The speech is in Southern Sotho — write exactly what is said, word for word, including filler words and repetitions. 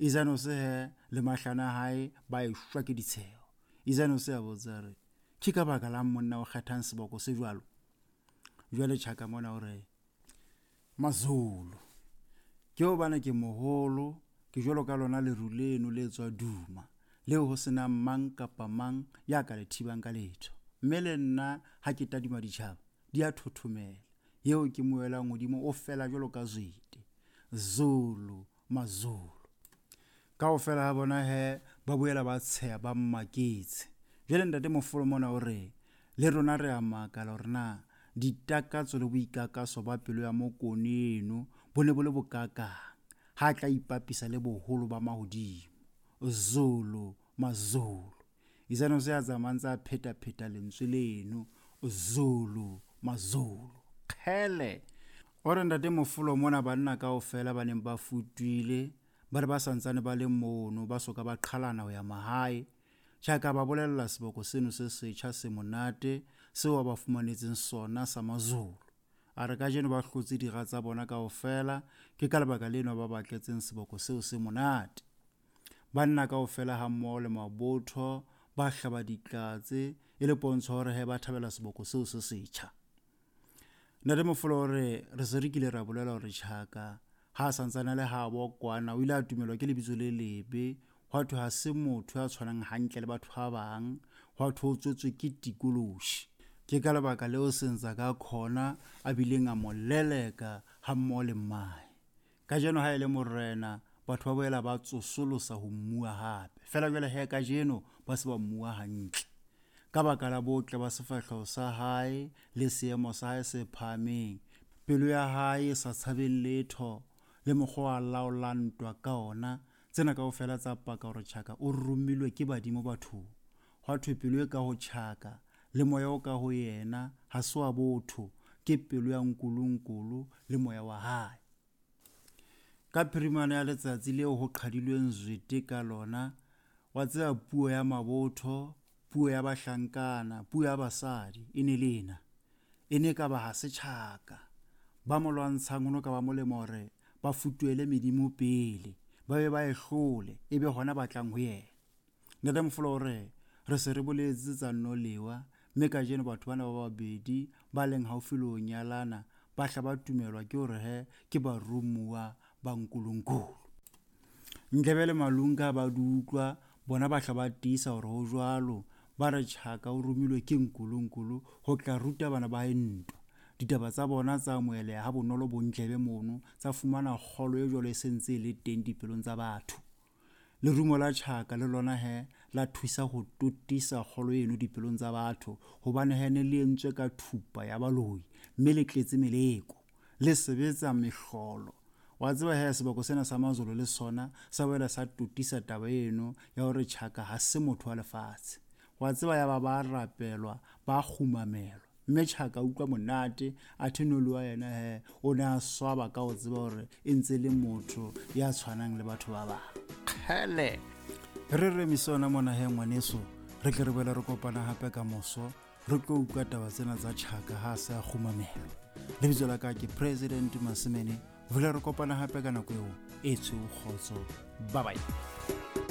Izanose he le mahlano a hae ba eshwa ke ditsheho. Izanose a botsa re, ke ka baka la monna o kgethang seboko se jwalo? Jwale Tjhaka mona o re, Mazulu, ke hobane ke moholo, ke jwalo ka lona leru leno le tswa duma, leo ho senang mang kapa mang ya ka le thibang ka letho. Mme le nna ha ke tadima ditjhaba, di a thothomela. Eo ke moelang hodimo o fela jwalo ka zwete. Zulu, Mazulu. Kaofela ha bona he ba boela ba tsheha ba mmaketse. Jwale ntate Mofolo mona o re, le rona re a makala hore na ditakatso le boikakaso ba pelo ya Mokone eno bo ne bo le bokakang ha tla ipapisa le boholo ba mahodimo. Zulu, Mazulu. Izanose a tsamaya ntse a phetapheta lentswe leno, Zulu, Mazulu. Kgele. O re ntate Mofolo mona banna kaofela ba neng ba futuile ba re ba santsane ba le mono ba soka ba qhalana ho ya mahae. Tjhaka ba bolella seboko seno se setjha se monate seo ba fumanetseng sona sa Mazulu. A re kajeno ba hlotse dira tsa bona kaofela, ke ka lebaka leno ba batletseng seboko seo se monate. Banna kaofela ha mmoho le mabotho ba hlaba ditlatse e le pontsho hore he ba thabela seboko seo se setjha. Ntate Mofolo o re re se re kile ra bolela hore Tjhaka ha santsane le habo kwana o ile a tumelwa ke lebitso le lebe, hwa thwe ha se motho ya tshwanang hantle le batho ba bang, hwa thwe o tswetswe ke tikoloshi. Ke ka lebaka leo Senzangakhona a bileng a mo leleka ha mmoho le mmae. Kajeno ha e le morena, batho ba boela ba tsosolosa ho mmua hape. Feela jwale he kajeno ba se ba mmua hantle. Ka baka la botle ba sefahleho sa hae le seemo sa hae se phahameng, pelo ya hae e sa tshabeng letho le mokgwa a laolang ntwa ka ona, tsena kaofela tsa paka hore Tjhaka o romilwe ke badimo bathong. Hwa thwe pelo e ka ho Tjhaka le moya o ka ho yena ha se wa botho, ke pelo ya Nkulunkulu le moya wa hae. Ka phirimana ya letsatsi leo ho qhadilweng zwete ka lona, wa tseba puo ya mabotho, puo ya bahlankana, puo ya basadi e ne le ena. E ne ka ba ha se Tjhaka. Ba mo lwantshang ho no ka ba molemo hore ba futuhele medimo pele, ba be ba e hlole, ebe hona ba tlang ho yena. Ntate Mofolo o re, re se re boletse tsa Nnolewa, mme kajeno batho bana ba babedi ba leng haufi le ho nyalana ba hla ba tumelwa ke hore he ke baromuwa ba Nkulunkulu. Ndlebe le Malunga ba di utlwa, bona ba hla ba tiisa hore ho jwalo, ba re Tjhaka o romilwe ke Nkulunkulu ho tla ruta bana ba hae ntwa. Ditaba tsa bona tsa amoheleha ha bonolo bo Ndlebe mono, tsa fumana kgolo e jwalo e sentse e le teng dipelong tsa batho. Lerumo la Tjhaka le lona he la thusa ho totisa kgolo eno dipelong tsa batho, hobane he ne le entswe ka thupa ya baloi mme le tletse meleko, le sebetsa mehlolo. Wa tseba he seboko sena sa Mazulu le sona sa boela sa totisa taba eno ya hore Tjhaka ha se motho wa lefatshe. Wa tseba ya ba ba rapelwa, ba kgumamelwa. Mme Tjhaka utlwa monate, athe Noluwa yena he o ne a swaba ka ho tseba hore e ntse le motho ya tshwanang le batho ba bang. Kgele. Re re misona mona he ngwaneso, re tle re boele re kopana hape ka moso, re tlo utlwa taba tsena tsa Tjhaka ha se a kgumamelwa. Lebitso la ka ke President Masimene. Vula re kopana hape ka nako eo e tshweu kgotso. Bye bye.